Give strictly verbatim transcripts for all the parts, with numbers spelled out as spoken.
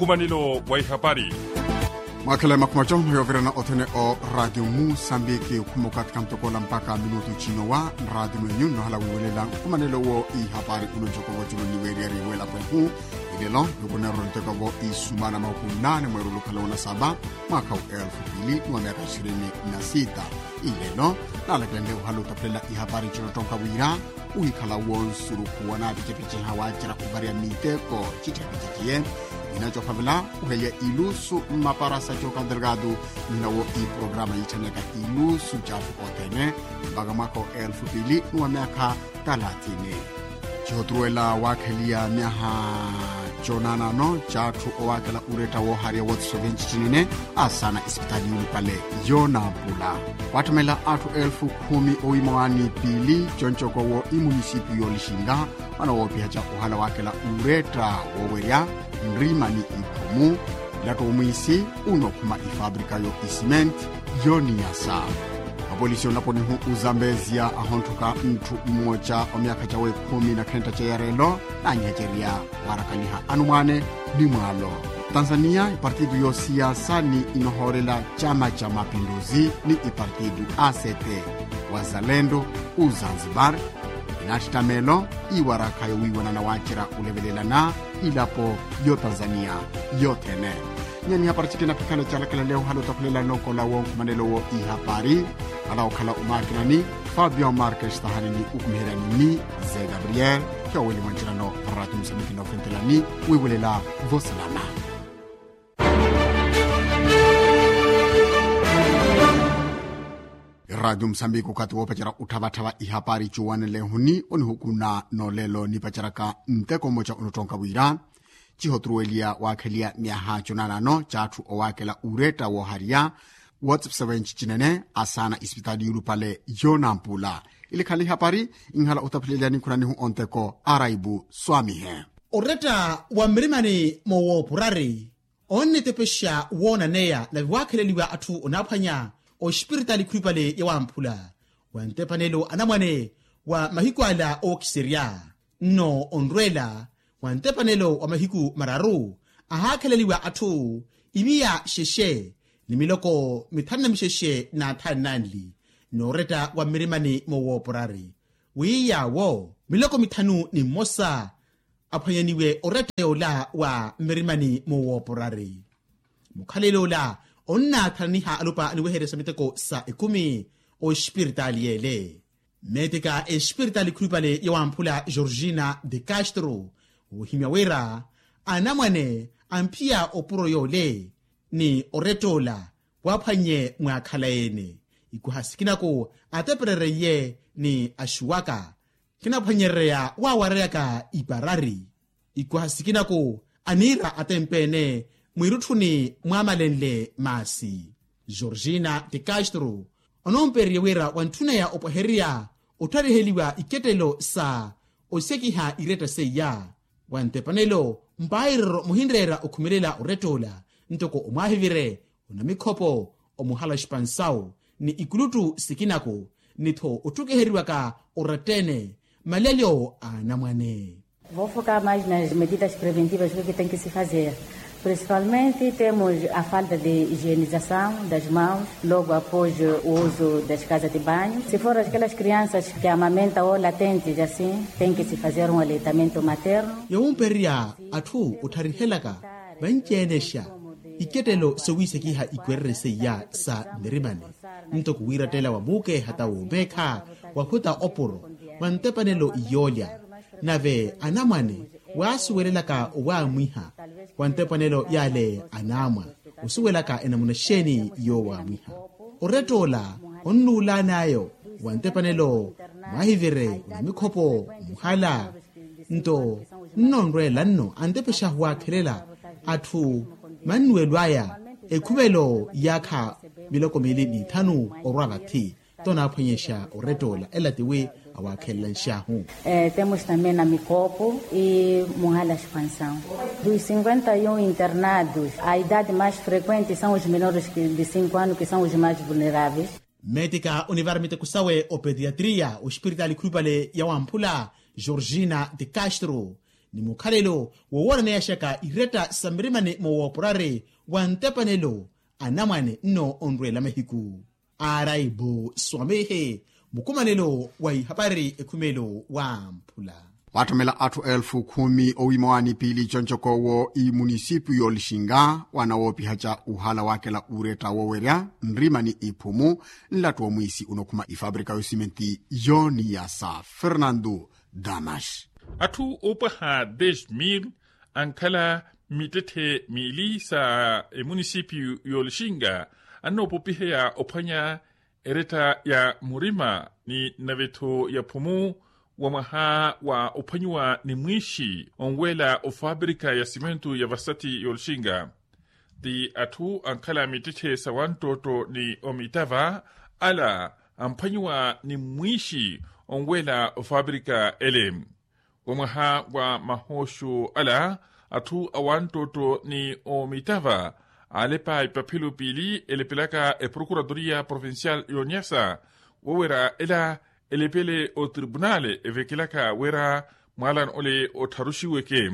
Nkumanelo wa ihapari. Mwakhela ya makhumaco yoovirana othene o ratio musambiki okhuma okathi kantokoola mpakha minutu cinowa. Ratio mwenyu nnohala wiiwelela nkumanelo wo ihapari uno ncoko voculu nniweeriyari w'elapo ehu. Ilelo nikuneerwa nteko vo isumana mahuku nnaane mweerulukhala onasaba mwaakha wa elfu pili ni wa myakha ishirini na sita. Ilelo naalakelene ohala otaphelela ihapari cinottonka wira wiikhala wonsurukhu wanaapicepiceha waacerya ovariya miteko citthepiceciye. Nina coophavela oheliya ilusu mmapara sa coka delgado. Nina wo iprograma yiitthaneka ilusu catthu othene mpaka mwaakha wa elfu pili ni wa myakha talathini. Cihoturuwela waakheliya myaha conaanano catthu owaakela uretta woohariya wootiso vinci cinene asaana isipitaali yuulupale yoonampula. Waatthumela atthu elfu khumi owiima waani piili concokowo imunisipiyu yoolixinga. Mwana woopihaca ohala waakela uretta woowerya nrima ni ikhumu. Latto omwiisi unookhuma ifabrika yo isimenti yooniyasa. Mapolisi onlaponihu ozambezia ahontthukha ntthu mmoca wa myaakha cawe khumi na khentta ceyarelo naanyihecerya waarakaniha anumwaane ni mwaalo. Tanzania ipartitu yoosiyasa ni inohoorela cama ca mapinduzi ni ipartitu act wazalendo ozanzibar. Inaattitta meelo iwarakha yowiiwanana waacerya olevelelana ilapo yotanzania yothene. Nyani hapari cikina pikhala calakalale ohala otakhulela nokola wonkumanelo wo ihapari. Ala okhala omakinani fabio marques tahanini okumiheryani ni ze gabriel. Kiyoweli mwancinano ratu musamikina ofentelani wiiwelela vosilana. Eraatio musambiki okathi woopacerya otthavatthava ihapari cuwanelehuni onihukuna n'olelo nipaceryaka nteko mmoca onottonka wira cihoturuweliya waakheliya myaha conaanano catthu owaakela uretta woohariya wootsipisa wenci cinene asaana isipitaali yuulupale yoonampula. Ilikhala ihapari inhala otapheleliya nikhunanihu onteko araibu swamihe. Oretta wa mmirimani moowoopurari onnetepexa woonaneya nave waakheleliwa atthu onaaphwanya ospiritaali khulupale ya wamphula wa ntepanelo anamwane wa mahiku ala ookiserya. Nno onrweela wa ntepanelo wa mahiku mararu ahaakheleliwa atthu imiya xexe ni miloko mithanu na mixexe n'athanu nanli n'oretta wa mmirimani moowooporari wi yaawo miloko mithanu ni mmosa aphwanyaniwe oretta yoola wa mmirimani moowooporari. Mukhalelo ola onnaathananiha alupa aniwehererya sa miteko sa ekumi ospiritaali yeele. Meetika espiritaali khulupale ya wamphula georgina de castro ohimya wira anamwane amphiya opuro yoole ni oretta ola waaphwannye mwaakhala ene. Ikuha sikinaku ateperereiye ni axuwaka kinaphwanyerereya waawareyaka iparari. Ikuha sikinaku aniira atempeene mwiirutthuni mwaamalenle maasi. Georgina de castro onoompererye wira wantthuneya opwehererya ottariheliwa ikettelo sa osekiha iretta seiya. Wa ntepanelo mpairero muhinreera okhumelela oretta ola ntoko omwaahivire onamikhopo omuhala oxipansawu ni ikuluttu sikinaku ni-tho ottukiheriwaka oretta-ene malelyo a anamwane. Vou focar mais nas medidas preventivas que tem que se fazer. Principalmente temos a falta de higienização das mãos logo após o uso das casas de banho. Se for aquelas crianças que amamentam ou latentes assim, tem que se fazer um aleitamento materno. Yowumpererya atthu ottharihelaka vanci-enexa ikettelo sowiisekiha ikwererye seiya sa mmirimani ntoko wiirattela wa muukeha ta woomeekha wahuta opuro wa ntepanelo yoolya. Nave anamwane waasuwelelaka owaamwiha wa ntepanelo yaale anaamwa osuwelaka enamuna xeeni yoowaamwiha. Oretta ola onnuulaan'ayo wa ntepanelo mwaahivire onamikhopo muhala nto nnonrweela nno antepexa waakhelela atthu mannuwelo aya ekhuvelo yaakha miloko miili n'ithanu orwa vathi. Tonaaphwanyexa oretta ola ela tiwi awaakhelela nxaahu. Temos também na mikopo e muhala expansão dos cinquenta e um internados a idade mais frequente são os menores de cinco anos que são os mais vulneráveis. Mmeetika onivara miteko sawe opediatria ospiritaali khulupale ya wamphula georgina de castro ni mukhalelo wooworaneyashaka iretta sa mirimani mowoopurari wa ntepanelo anamwane nno onrwela mahiku. Araibu swamihe mukumanelo wa ihapari ekhumelo wamphula. Waattomela atthu elfu khumi owiima waanipili concokowo imunisipio y'olixinga wanawoopihacca uhala waakela uretta wowerya nrima ni iphumu nlattu wa mwiisi unokhuma ifabrika y'osimenti y'oniyasa fernando damas. Atthu oopwaha dez mil ankhala mittetthe miili sa emunisipio y'olixinga annoopopiheya ophwanya eretta ya murima ni nnavetho ya phumu wa mwaha wa ophwanyiwa ni mwiixi onweela ofabrika ya simento ya vasati y'olixinga. Ti atthu ankhala mittetthe sa wanttootto ni omitava ala amphwanyiwa ni mwiixi onweela ofabrika ele. Wa mwaha wa mahooxo ala atthu a wanttootto ni omitava aalepa ipaphelo piili elepelaka eprokuratoria provincial y'oniyasa wowerya ela elepele otribunale evekelaka wira mwaalano ole ottharuxiweke.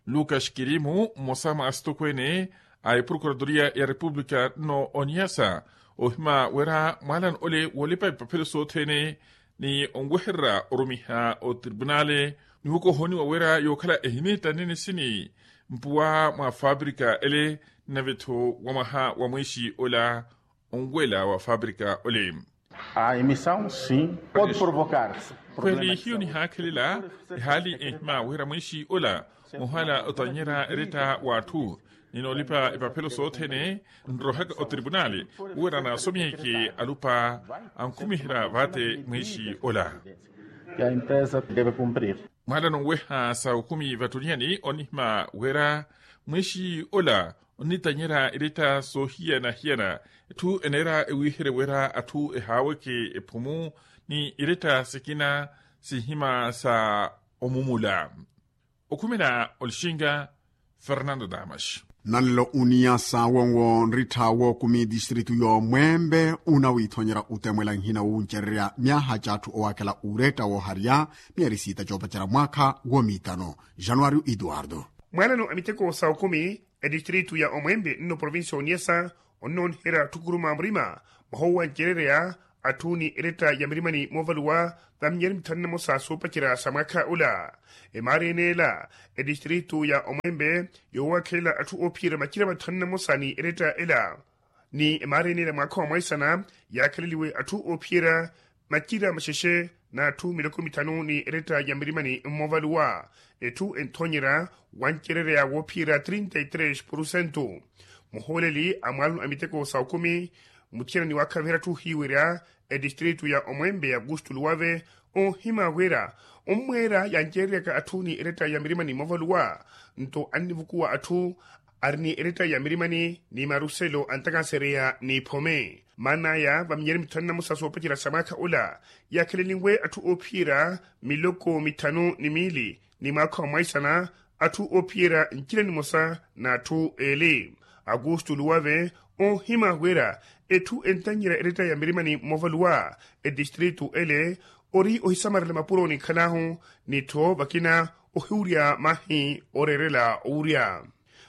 Lucas kirimu mmosa mwa asitokweene a eprokuratoria ya repupulika nno oniyasa ohima wira mwaalano ole woolepa ipaphelo sothene ni onwehererya orumiha otribunale ni wokohoniwa wira yookhala ehineetta nene sini mpuwa mwa fabrika ele nnavetho wa mwaha wa mwiixi ola onweela wa fabrika ole. A emissão sim pode provocar. Kweli hiyo nihaakhelela ehaali ehima wira mwiixi ola muhala otanyerya eretta w'atthu ni noolipa epaphelo sothene nrohaka otribunali wira naasomyeke alupa ankhumiherya vaate mwiixi ola. Mwaala nonweha sa okhumi vattuliyani onihima wira mwiixi ola onnitanyerya eretta soohiyana-hiyana etthu eneera ewiiherye wira atthu ehaaweke ephumu ni eretta sikina sihima sa omumula. Okhumela olixinga fernando damas. Nanlo uniya sa wonwo nrittha wookumi distritu y'omwembe unawiithonyerya utemwela nhina wuncererya myaha c'atthu owaakhela uretta wooharya miyari siita coopacerya mwaakha woomiitano. Januario eduardo. Mwaalano a miteko sa okumi etistritu ya omwembe nno provincia oniyasa onnooniherya atthu kuruma murima mwaha owancererya atthu ni eretta ya mirimani moovaluwa va minyari mithanu na mosa soopacerya sa mwaakha ula. Emaari eneela etistritu ya omwembe yoowakhelela atthu oophiyerya macira mathanu na mosa ni eretta ela ni emaari eneela mwaakha wa mwaisana yaakheleliwe atthu oophiyerya macira maxexe n'atthu miloko mithanu ni eretta ya mirimani mmoovaluwa. Etthu enthonyerya wancererya woophiyerya trinta y tres porcento. Muhooleli a mwaalano a miteko sa okumi muthiyana ni waakhaviherya atthu ohiiwerya etistritu ya omwembe ya augusto luwave onhima wira ommweera yancereryaka atthu ni eretta ya mirimani moovaluwa nto annivukuwa atthu ari ni eretta ya mirimani ni maruselo antakansereya n'iphome maan'aya va minyari mithanu na mosa soopacerya sa mwaakha ula yaakheleliwe atthu oophiyerya miloko mithanu ni miili ni mwaakha wa mwaisana atthu oophiyerya ncira nimosa n'atthu eeli. Augusto luwave onhima wira etthu entanyerya eretta ya mirimani moovaluwa etistritu ele ori ohisamarela mapuro ninkhalahu ni tho vakina ohiwurya mahi ooreerela owurya.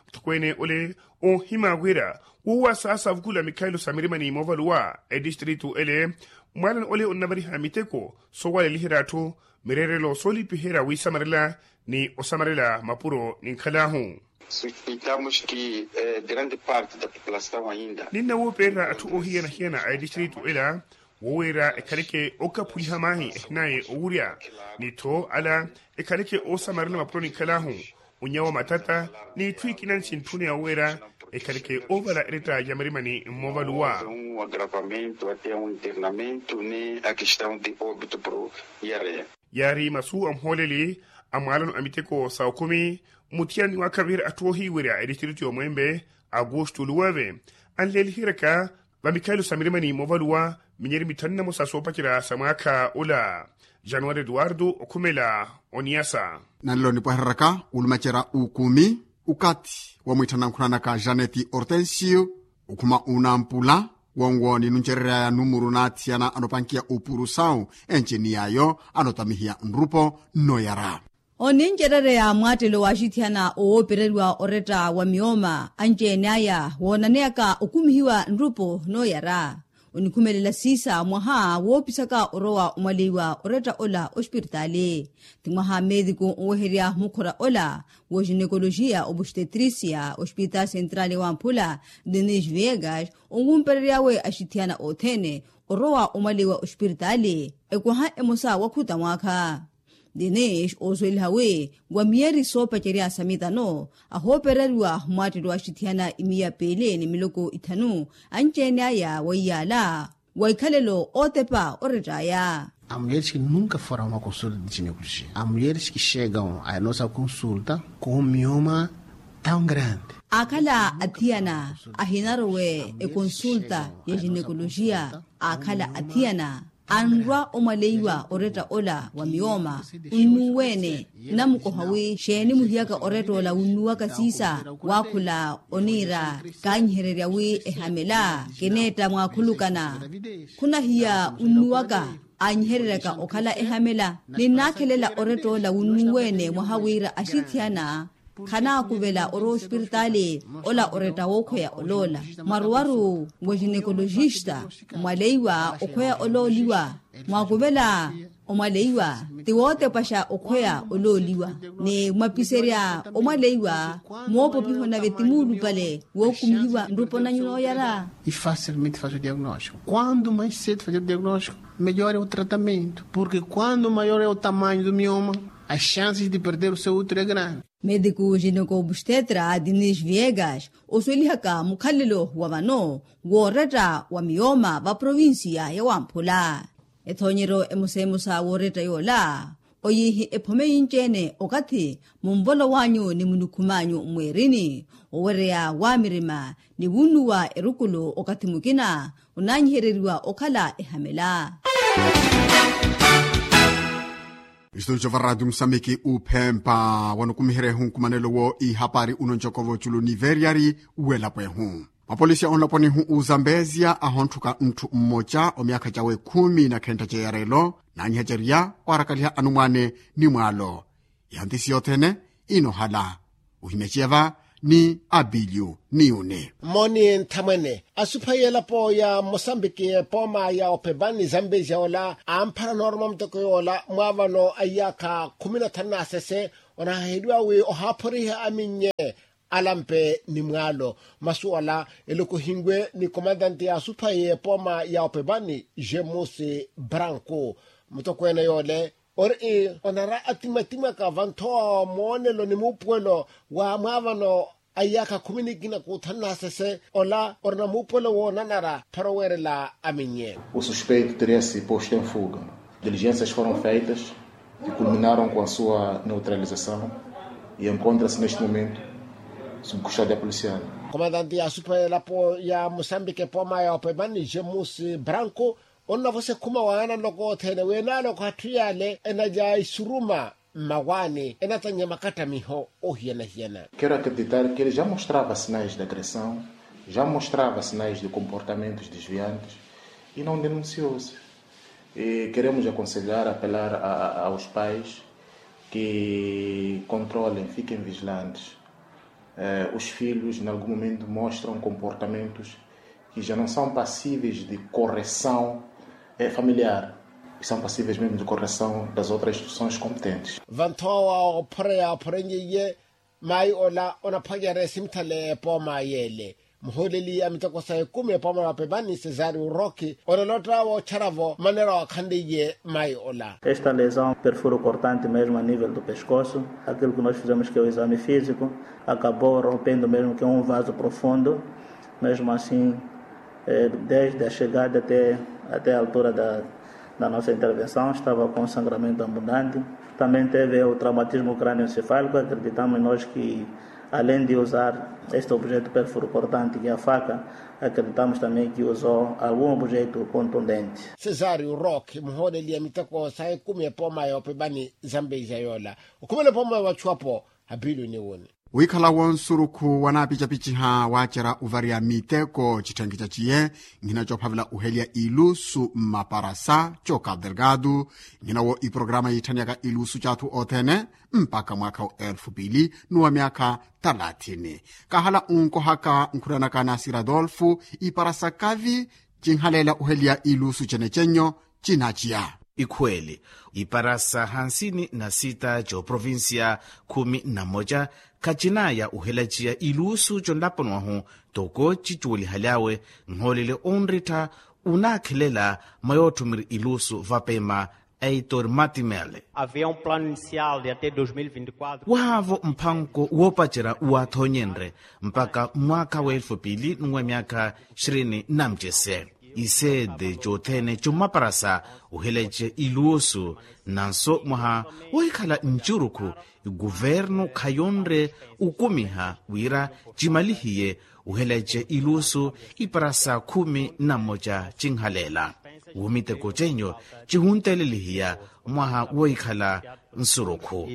Muthokweene ole onhima wira woowa saasa avukula mikhaelo sa mirimani moovaluwa etistritu ele mwaalano ole onnavariha miteko soowaleliherya atthu mireerelo soolipiherya wiisamarela ni osamarela mapuro ninkhalahu. Suspeitamos que grande parte da população ainda ninna woopererya atthu ohiyana-hiyana a etistritu ela woowerya ekhaleke ookaphuliha maahi ehinaye owurya ni tho ala ekhaleke oosamarela mapuro ninkhalahu onyawa matata n'itthu ikina nsintthuneya oweera ekhaleke oovala eretta ya mirimani mmoovaluwa. Agravamento até um internamento ne a questão de óbito pro iarea. Yaari masu a muhooleli a mwaalano a miteko sa okumi muthiyani waakhaviherya atthu oohiiwerya etistritu y'omwembe augusto luwave anleeliheryaka va mikhaelo sa mirimani moovaluwa minyeri mithanu na mosa soopacerya sa mwaakha ula. Januari eduardo okhumela oniyasa. Nanlo nipwehereraka ulumacerya ukumi ukathi wa mwiitthana nkhunanaka janeti ortensio okhuma unampula wonwo ninuncereryaya numuru naathiyana anopankiya upuru sawu enci ni yaayo anotamihiya nrupo nnoyara. Onincerereya mwaattelo waaxithiyana owoopereriwa oretta wa miyooma anci-ene aya woonaneyaka okumihiwa nrupo nooyara. Onikhumelela siisa mwaha woopisaka orowa omwaleiwa oretta ola ospiritaali. Ti mwaha meetiku oweherya mukhora ola woxinekolojiya obustetrisia ospiritaali sentraali wamphula, denis viegas, onwumperery'awe axithiyana othene orowa omwaleiwa ospiritaali. Ekwaha emosa wakhuta mwaakha. Denis oosuweliha wi wa miyeri soopacerya sa mitano ahoopereriwa mwaattelo axithiyana imiya piili ni miloko ithanu anci-ene aya wa iyaala wa ikhalelo ootepa orett'aya. Amulyeris ki nunka foram a consulta de ginecologia amulyeris ki xeekam a nossa consulta, com mioma tão grande. Akhala athiyana ahinarowe ekonsulta ya ginecologia akhala athiyana anrwa omwaleiwa oretta ola wa miyooma onnuwene. Namukoha wi xeeni muhiyaka oretta ola wunnuwaka siisa waakhula oniira kaanyihererya wi ehamela kineetta mwaakhulukana. Khunahiya wunnuwaka aanyihereryaka okhala ehamela ninnaakhelela oretta ola wunnuwene mwaha wira axithiyana khanaakuvela orowa ospiritaali ola oretta wookhweya oloola mwaruwaru wa ginekolojista. Mwaleiwa okhweya olooliwa mwaakuvela omwaleiwa ti wootepaxa okhweya olooliwa ni mwapiserya omwaleiwa moopopiho nave ti muulupale wookumihiwa nrupo nanyu nooyara. E facilmente faze o diagnóstico quando mais cedo fazer o diagnóstico melhor é o tratamento porque quando maior é o tamanho do mioma as chances de perder o seu útero é grande. Mediku ginecobstetra dinis viegas osuwelihaka mukhalelo wa vano wooretta wa miyooma va provincia ya wamphula. Ethoonyeryo emosa emosa wooretta yoola oyiihi ephome yinci-ene okathi munvolo w'anyu ni munikhum'anyu mweerini owereya waamirima ni wunnuwa erukulu okathi mukina onaanyihereriwa okhala ehamela. Istudio va radio musambiki uphempa wanukumiherya ehunkumanelo wo ihapari unoncoko voculu ni veriyari welapo ehu. Mapolisi a onlaponihu uzambezia ahonthuka ntthu mmoca omyakha cawe khumi na khentta ceyarelo naanyihacerya waarakaliha anumwane ni mwaalo. Ihantisi yothene inohala uhimeciya va ni abilyu ni yuni. Moni nthamwene asupha yelapo ya mosambiki epooma ya opepani zambezia ola amphara nooruma muteko yoola mwaavano a iyaakha khumi na thanu na sese onahaheliwa wi ohaaphoriha aminye alampe ni mwaalo. Masu ala elokohinwe ni komantanti ya asupha y'epooma ya opepani jemusi branku mutokweene yoole ori onara atimatimaka vanthowa moonelo ni muupuwelo wa mwaavano a iyaakha khumi nikina kuuthanu na sese ola orina muupuwelo woonanara pharo weerela aminye. O suspeito teria se posto em fuga. Diligências foram feitas que culminaram com a sua neutralização e encontra-se neste momento sob custódia policial. Komantanti ya asupha elapo ya mosambiki epooma ya opepani jemusi branku onnavosa ekhuma waana nloko othene wi enaale okhatthu yaale enalya isuruma mmawaani enatannya makattamiho ohiyana-hiyana. Quero acreditar que ele já mostrava sinais de agressão, já mostrava sinais de comportamentos desviantes e não denunciou-se. Queremos aconselhar apelar aos pais que controlem fiquem vigilantes. Os filhos em algum momento mostram comportamentos que já não são passíveis de correção familiar, são passíveis mesmo de correção das outras instituições competentes. Vanthowa ophoreya ophorenye iye maayi ola onaphwanyerya esimithale epooma yeele muhooleli a miteko sa ekumi epooma ya opepani cesario roki onolotta woochara-vo maneira waakhanleiye maayi ola. Esta lesão perfuro cortante mesmo a nível do pescoço. Aquilo que nós fizemos que é o exame físico acabou rompendo mesmo que é um vaso profundo. Mesmo assim, desde a chegada até a altura da nossa intervenção estava com sangramento abundante. Também teve o traumatismo crânioencefálico acreditamos nós que além de usar este objeto perfuro cortante que é a faca, acreditamos também que usou algum objeto contundente. Cesario rock muhooleli a miteko sa ekumi epooma ya opepani zambeija yoola okhumela epooma ya vachuwapo. Apiluni wuni. Wiikhala wonsurukhu wanaapicapichiha waacerya ovariya miteko citthenkhi caciye, nhina coophavela oheliya ilusu mmaparasa co cabo delgado, nhina wo iprograma yiitthanyaka ilusu c'athu othene mpakha mwaakha wa elfu pili n'uwa myaakha thalathini. Kahala onkohaka nkhuranaka na sir adolfo, iparasa kavi cinhaleela oheliya ilusu cenecennyo cinaciya. Ikhweeli, iparasa hansini na sita c'oprovincia khumi na mmoca khacinaya ohelaciya ilusu conlaponi wahu, toko cicuwelihaly'awe nhoolele onrittha, onaakhelela mwa yootthumiri ilusu vapema. Heitor matimele. Havia um plano inicial de até dois mil e vinte e quatro. Wahaavo mphanko woopacerya waathonyenre mpakha mwaakha wa elfu pili n'uwa myaakha ishirini na mucese. Iseede cothene commaparasa ohelace ilusu, nanso mwaha wohikhala ncurukhu, ikuvernu khayonre okumiha wira cimalihiye ohelace ilusu, iparasa khumi na mmoca cinhaleela. Womiteko cenyo cihuntelelihiya mwaha wohikhala nsurukhu.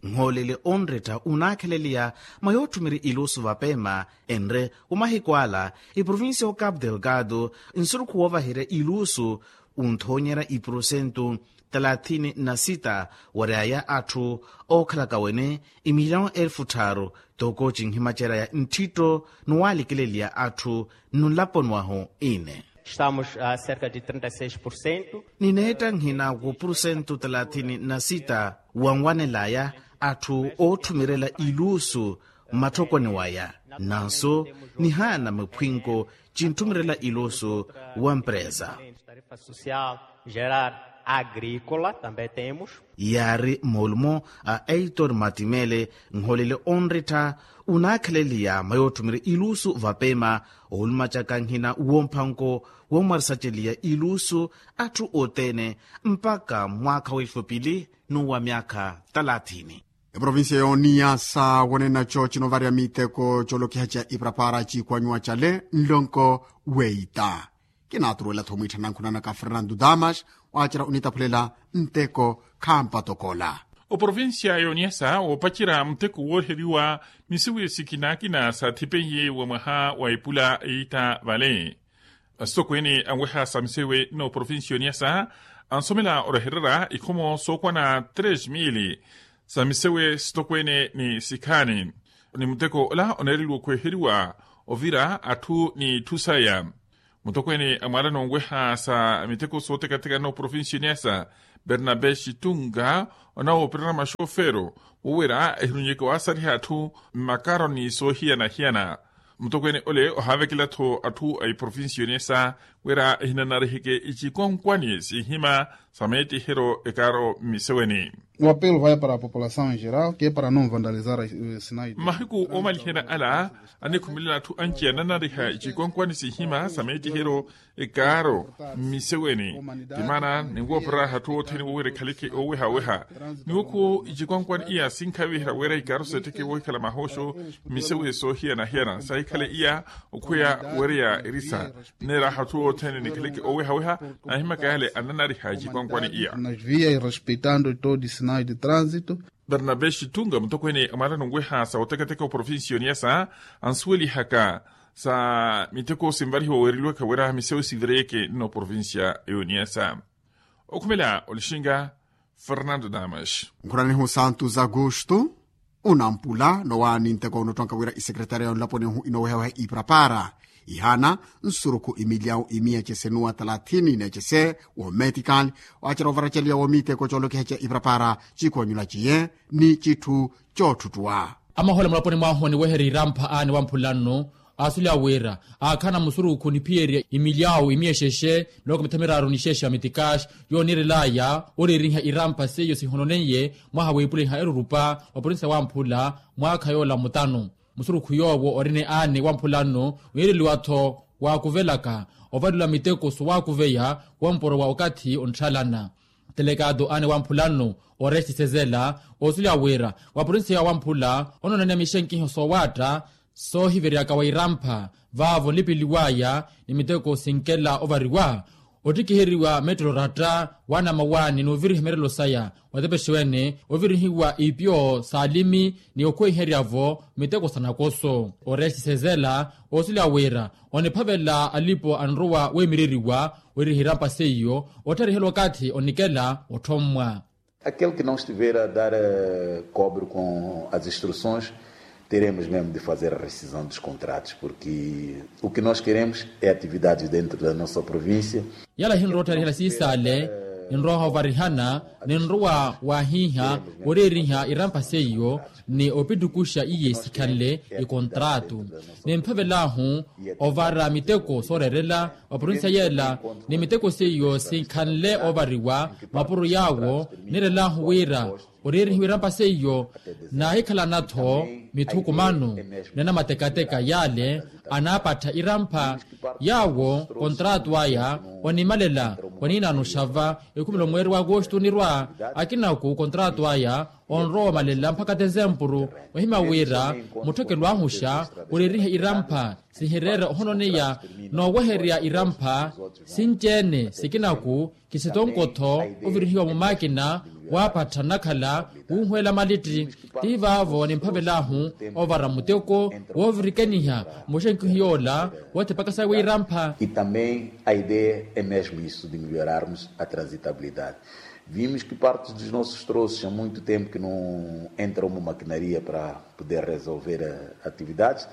Nhoolele onretta onaakheleliya mwa yootthumiri ilusu vapema, enre omahiku ala iprovincia o cabo delgado nsurukhu woovaherya ilusu, onthoonyerya iprosentu talathini na sita waryaya atthu ookhalaka wene imiliyawo elfu tthaaru, toko cinhimacerya ya ntthitto ni waalikeleliya atthu nnulaponi wahu ine. Estamos a cerca de trinta e seis por cento. Nineetta nhina ku purusentu talathini na sita wanwanelaya atthu ootthumirela ilusu mmatthokoni waya, nanso nihaana miphwinko cinthumirela ilusu wa mpresa. Social geral agrícola também temos. Yaari moolumo a heitor matimele, nholele onrittha onaakheleliya mwa yootthumiri ilusu vapema, oolumacaka nhina womphanko womwarisaceliya ilusu atthu othene mpakha mwaakha wa elfu pili n'uwa myaakha talathini. Eprovincia y'oniyasa wonena cooci novarya miteko coolokiha ca iprapara ciikwanyuwa cale nlonko weita. Kinaaturuwela-tho mwiitthana nkhunanaka fernando damas, waacerya onitaphulela nteko khampatokola. Oprovincia y'oniyasa woopacerya muteko wooriheriwa misiwi sikinaakina saathipeiye wa mwaha wa epula eitta vale. Asitokweene anweha sa misewe n'oprovincia y'oniyasa ansomela orahererya ikhomo sookwana tres mili sa misewe sitokweene ni sikhaani. Ni muteko ola oneereliwa okhweeheriwa ovira atthu n'itthu saya. Mutokweene a mwaalano onweha sa miteko sootekateka n'oprovincia y'oniyasa, bernabe xitunga, onawoopererya maxofero wowerya ehirunyeke waasariha atthu mmakaro ni soohiyana-hiyana. Mutokweene ole ohaavekela-tho atthu a iprovincia y'oniyasa wira ehinanariheke icikonkwani sinhima sa meettiheryo ekaaro mmiseweni. O apelo vai para a população em geral que é para não vandalizar as sinais. Mmahiku oomaliherya ala, anikhumelela atthu anci ananariha icikonkwani sinhima sa meettiheryo ekaaro mmiseweni. Timaana ninwoopererya atthu othene wowerya ekhaleke oowehaweha. Niwokhu icikonkwani iya sinkhaviherya wira ikaaro seetteke woohikhala mahooxo mmisewe soohiyana-hiyana saahikhale iya okhweya wereya erisa. Nneeraha atthu othene nikhaleke oowehaweha. Naahimakayale ananariha icikonkwani iya. Nas vias respeitando todos sinais de trânsito. Bernabe xitunga mutokweene a mwaalano onweha sa otekateka oprovincia y'oniyasa ansuwelihaka sa miteko sinvarihiwa weereliwaka wira misewe sivireyeke n'oprovincia y'oniyasa. Okhumela olixinga fernando damas. Nkhuranihu santos augusto, unampula nowaani nteko unottwanka wira isekretariya yonlaponi ohu inoowehaweha iprapara ihaana nsurukhu imiliyawu imiya cesenuwa talathini n'ecese wo medical, waacerya ovaraceliya wo miteko coolokiha ca iprapara cikwanyula ciye ni citthu cootthutthuwa. Amahola mulaponi mwahu oniweherya irampa aani wamphula nnu, aasuliya wira aakhala na musurukhu niphiyerya imilyawu imiyexexe nloko mitha miraaru nixexe ya mitikaxi yooniirelaya oriiriha irampa seiyo sihononeiye mwaha wiipuliha erurupa wa provinsia wamphula mwaakha yoola mutanu. Musurukhu yoowo orine aani wamphula nnu wiireliwa-tho waakuvelaka ovalelwa miteko sowaakuveya womporo wa okathi ontthalana. Telekaato aani wamphula nnu oresti sezela oosuliya wira wa provinsia wamphula onoonaniya mixenkiho soowaatta soohiveryaka wa irampha vaavo nlipeliwaya ni miteko sinkela ovariwa. Ottikiheriwa metro ratta waana mawaani n'oviriha emerelo saya, otepexiwene ovirihiwa ipyo s'alimi ni okhweiherya-vo miteko sa nakoso. Orexi sezela osuliwa wira oniphavela alipo anrowa weemireriwa weriha irampa seiyo ottharihelwa okathi onikela otthommwa. Aquele que não estiver a dar cobre com as instruções, teremos mesmo de fazer a rescisão dos contratos, porque o que nós queremos é atividades dentro da nossa província. Yala hinrowa ottarihela siisaale, ninrowa ovarihana, ninrowa wahiiha oreeriha irampa seiyo ni opittukuxa iye sikhanle ikontraatu. Nimphavelaahu ovara miteko sooreerela wa provincia yeela, ni miteko seiyo sinkhanle ovariwa mapuro yaawo. Nirelahu wira oreerihiwa irampa seiyo naahikhalana-tho mithukumano ni anamatekateka yaale anaapattha irampha. Yaawo kontraatu aya onimalela waniinaano xava ekhumelo mweeri wa agosto onirwa. Akinaku kontraatu aya onrowa omalela mpakha tezempuru. Ohimya wira mutthekelo ahu xa oreeriha irampha sihireera ohononeya nooweherya irampha sinci-ene sikinaku. Kisitonko-tho ovirihiwa mumaakina waapattha nnakhala wuuhweela malitti. Ti vaavo nimphavelaahu ovara muteko woovirikaniha muxenkihu yoola woothipaka sawe irampha. E também a ideia é mesmo isso de melhorarmos a transitabilidade. Vimos que parte dos nossos troços há muito tempo que não entram uma maquinaria para poder resolver atividades.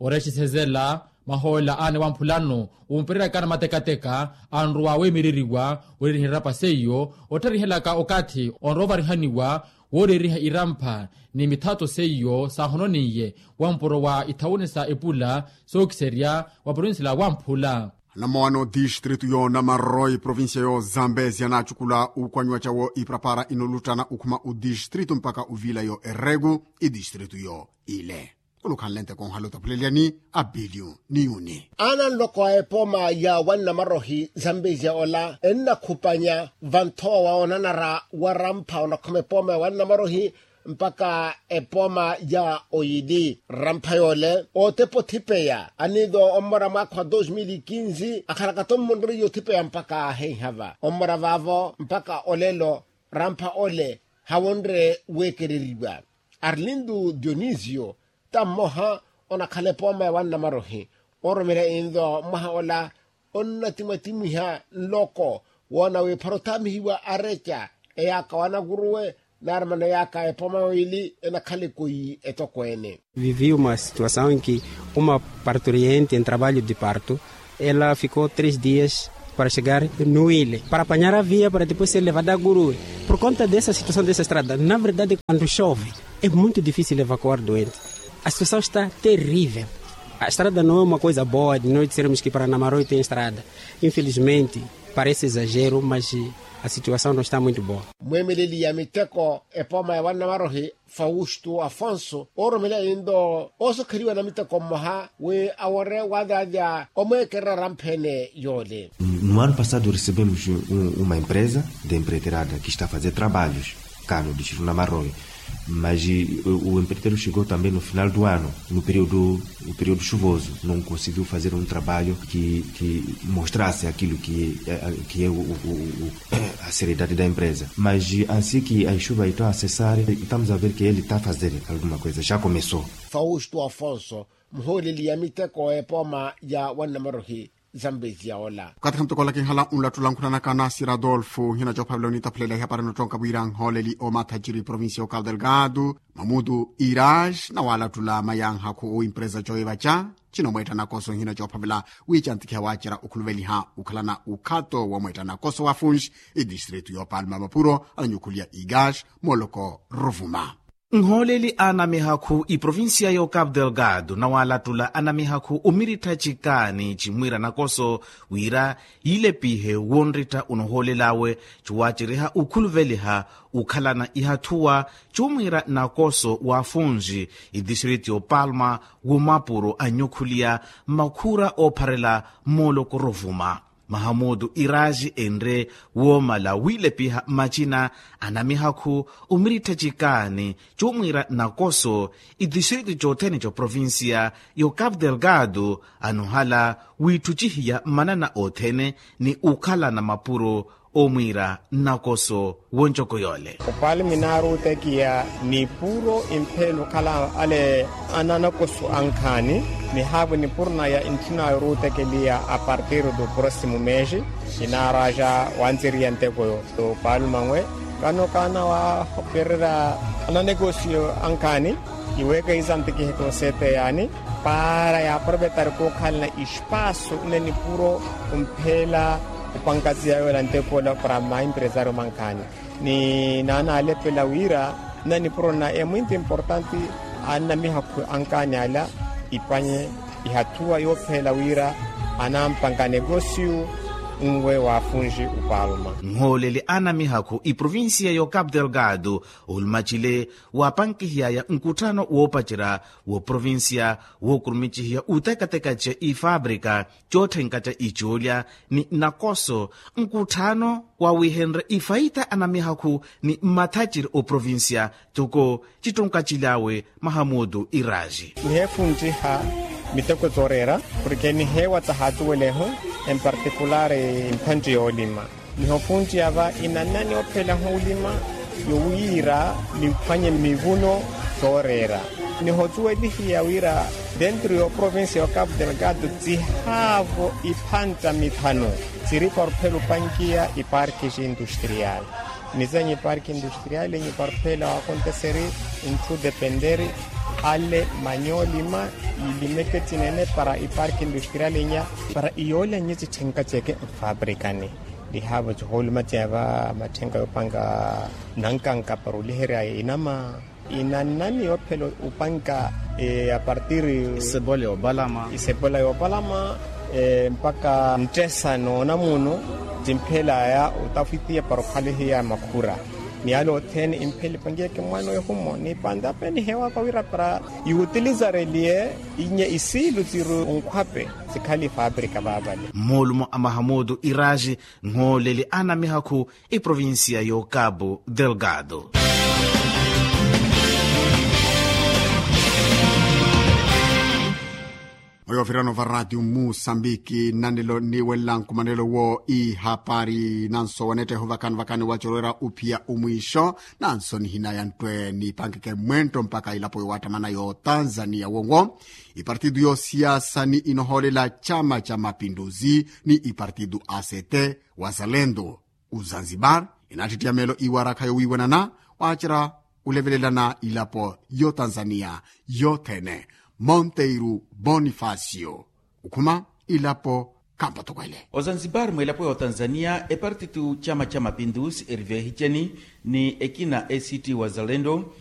Orexisezela mahoola aana wamphulano wumpereraka anamatekateka anrowa weemereriwa weereriha irapa seiyo ottharihelaka okathi onrowa ovarihaniwa wooreeriha irampha ni mithato seiyo saahononiye wampuro wa ithawuni sa epula sookiserya wa provincia la wamphula. Anamowano distritu yo namaroi provincia yo zambezia naacukula ukwanyiwa cawo iprapara inoluttana ukhuma udistritu mpaka uvila yo eregu idistritu yo ile. Olukhanle nteko onhala otapuleliyani abilio ni yuni. Aana nloko a epooma ya wannamarohi zambezia ola ennakhupanya vanthowa wa onanara warampha onakhuma epooma ya wannamarohi mpaka epooma ya oyili rampha yoole ootepa othipeya aniido ommora mwaakha wa dos mil e quinze akhalaka-tho mmunre yoothipeya mpaka aahenhava ommora vaavo mpaka olelo rampha ole hawonre weekereriwa. Arlindo dionisio ta mmoha onakhala epooma ya wannamarohi ooromela inlo mwaha ola onnatimwatimwiha nloko woona wiiphara othaamihiwa areca eyaaka wanakuruwe naari mano eyaaka epooma yoili enakhala ekoyi etokweene. Viviu uma situasaw enki uma parturiente en trabalho de parto ela fikou tres dias para chegar no ile para apanyar a via para depois ser levada a gurue. Por conta dessa situasaw dessa estrada na verdade quando chove é muito dificil evacuar doente. A situasaw está terrivel. A estrada no é uma coisa boa de noite sermos ki para namaroi tem estrada infelizmente. Parece exagero mas a situasaw no está muito boa. Mweemeleli ya miteko epooma ya wannamarohi fausto afonso ooromela inlo oosokheriwa namiteko mmoha wi awore wadaadya omweekerera ramphene yoole. No ano passado recebemos uma empresa de empreiterada que está a fazer trabalhos cá no distrito namaroi. Mas o empreiteiro chegou também no final do ano no período no período chuvoso não conseguiu fazer um trabalho que mostrasse aquilo que é o a seriedade da empresa mas ansi que as chuvas estão a cessar estamos a ver que ele está a fazer alguma coisa já começou. Fausto afonso muhooleli ya miteko epooma ya wannamarohi zambezia ola. Okathi khamuteko ola kinhala onlattula nkhunanaka nasir adolfo nhina coophavela onitaphulela ihapari nottonka wira nhooleli omathaciri provincia ya ocabo delgado mamutu iraj nawalattula mayanhakhu oimpresa coivaca cino mweetta nakoso nhina coophavela wiicantikhiha waacerya okhuluveliha okhalana ukhato womweetta nakoso wa funji idistritu yoopalma mapuro ananyukhuliya igaj moloko ruvuma. Nhooleli a anamihakhu iprovincia yo cabo delgado nawalattula anamihakhu omirittha cikaani cimwiira nakoso wira yiilepihe wonrittha onohoolel'awe cuwaceriha okhuluveliha okhalana ihathuwa cumwiira nakoso wa afunji idistrito yo palma womapuro anyukhuliya makhura oopharela mooloko rovuma. Mahamutu iraaji enre woomala wiilepiha macina a namihakhu omirittha cikaani, cuumwiira nakoso itixiritu cothene coprovincia yo capu delgado, anohala wiitthucihiya manana othene ni okhalana mapuro omwiira nakoso. Woncoko yoole opalme inaaruutekiya nipuro impheela okhala ale ananakoso ankhaani, nihaavo nipuro naya intthuna yoruutekeliya a partiru do prossimo mesi. Inaaraja wantsiriya nteko yo opalme anwe kano kaana wahopererya ananekosiyo ankhaani. Iweeka isantikiheke oseeteyaani para yaaprovetari kookhalana ispaaso nne nipuro ompheela opankaziya yoola ntekoola para maimpresario mankhaani. Ni naanaalepela wira nna nipuro na emwinto importanti annamihakhu ankaani ala ipanye ihathuwa yoopheela wira anampanka negosiyu nwe waafunji upalma. Nhooleli annamihakhu iprovincia yo capu delgado olumacile waapankihiyaya nkutthano woopacerya wooprovincia wookurumicihiya utekatekace ifabrika cootthenkaca icoolya ni nakoso nkutthano wawihenrye ifaita anamihakhu ni mmathaciri oprovincia. Toko cittunkacilawe mahamutu iraaji niheefunciha miteko zooreera porke niheewa tahaatuwelehu empartikulari mphanci yoolima. Nihofunciya va inanani ophelahu olima yowiira niphwanye mivuno sooreera. Nihocuwelihiya wira dentro y'oprovincia y'ocapu delgado cihaavo iphanca mithanu ciri para ophela opankiya iparki cindustrial. Nizenye iparki industrial inyi para ophela waakonteseri ntthu dependeri ale manye olima ilimeke cinene para iparki industrial inya para iyoolya nye citthenka ceke nfabrikani. Lihaavo cihooluma ceya va matthenka yoopanka nankanka para oliherya inama inanani yoophela opanka apartiri isebola yoopalama mpaka nttesa noona munu cimphelaya otafitiya para okhalihiya makhura. Ni yale othene imphela ipankiyeke mwaano ehumo ni pantape niheewaka wira para iwutilizareliye inye isiilu ciri onkhwape cikhale ifabrika vaavale. Mmoolumo a mahamutu iraaji nhooleli a namihakhu iprovincia y'ocapu delgado. Oyo ovirano va ratio musambiki nnanelo niiwelela nkumanelo wo ihapari nanso wanetteho vakani vakani wacorowera ophiya omwiixo. Nanso nihina ya nttwe niipankeke mwentto mpakha ilapo yowattamana yo tanzania wonwo ipartitu yosiyasa ni inohoolela chama cha mapinduzi ni ipartitu a c t wazalendo. Ozanzibar inaattitthiya meelo iwarakha yowiiwanana waacerya olevelelana ilapo yo tanzania yothene. Monteiro bonifacio okhuma ilapo khampa toko ele. Ozanzibar mwilapo ya otanzania epartitu chama cha mapinduzi eriveehiceni ni ekina a c t wazalendo